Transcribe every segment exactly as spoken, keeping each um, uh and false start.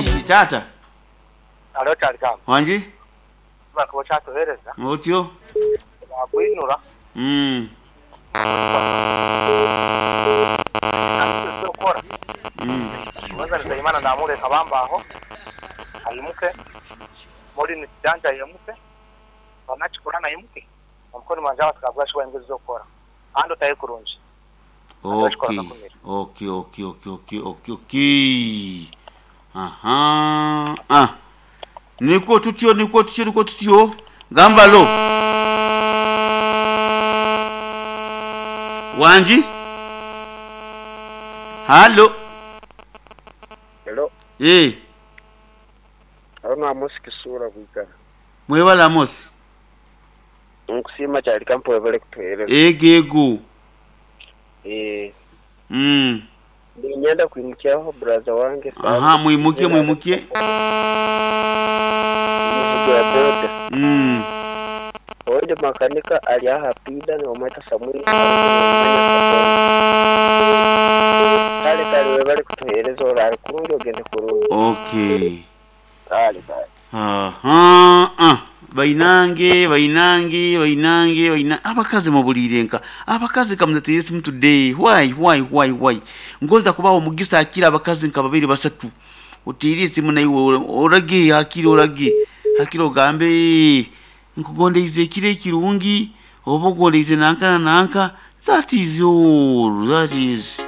Taata. Alo Kyaligambo. Wangi? Kuba okyatuheereza. Otyo? Nakwinura. Mm. Okukora. Mm. Kwanza Nzeyimana namureka bambaho ayimuke muri nikijanja ayimuke banakikora nayimuke omukono mwanje abatukabwa shuwa engezi zokukora andi otaye kurungi. Okay. Okay, okay, okay, okay, okay, okay. Aha. Ah. Niko tutyo, niko tutyo, niko tutyo. Gamba lo. Wanji? Halo. Hello, Eh, ano Amos Kisura bwikara. mwebala Amos. Nkusiima kyali kampo ebale kutuheereza. Egego. Eh, Mm. ninyenda kwimukyaho braza wange. Aha, mwimuke mwimuke. Muvugo ya boda. Mm. Ondi makanika ali aha pida ni omweta Samuel. Kale kale webale kutuheereza orari kurungi ogende kurungi. Okay. Kale kale. Aha. Ah. Bainange, bainange, bainange, baina abakazi mubuliire nka abakazi kamuzateire simu today. Why why why why? Ngoza kubaho omugisa akira abakazi nka babiri basatu. Oteire esimu naiwe orage hakiri orage. Hakiri ogambe nkugondeize ekiro ekirungi oba ogondeize nanka na nanka. That is all. That is.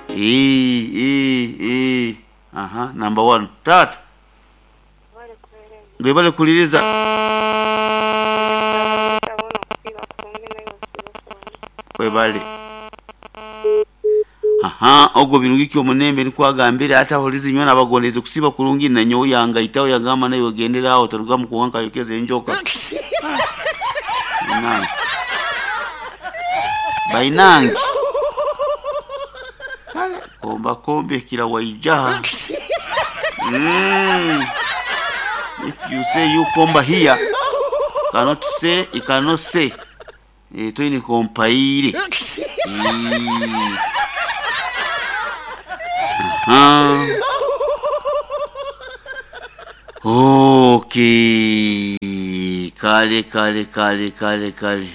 Eh eh eh. Aha, number one. Tata. Webale kuliriza. Webale. Aha, ogwo birungi omunembe nikwagambira ata holizi nywana abagondeze kusiba kurungi na nyowe yangaitaho yagamba nayo ogendera aho taruga mu kuwanka yokeze enjoka. Bainange. Bainange. Kale komba kombe kila waijaha. Mm. If you say you komba here, cannot say, you cannot say. Eh, toine kompaire. Mm. Aha. Okay. Kale kale kale kale kale.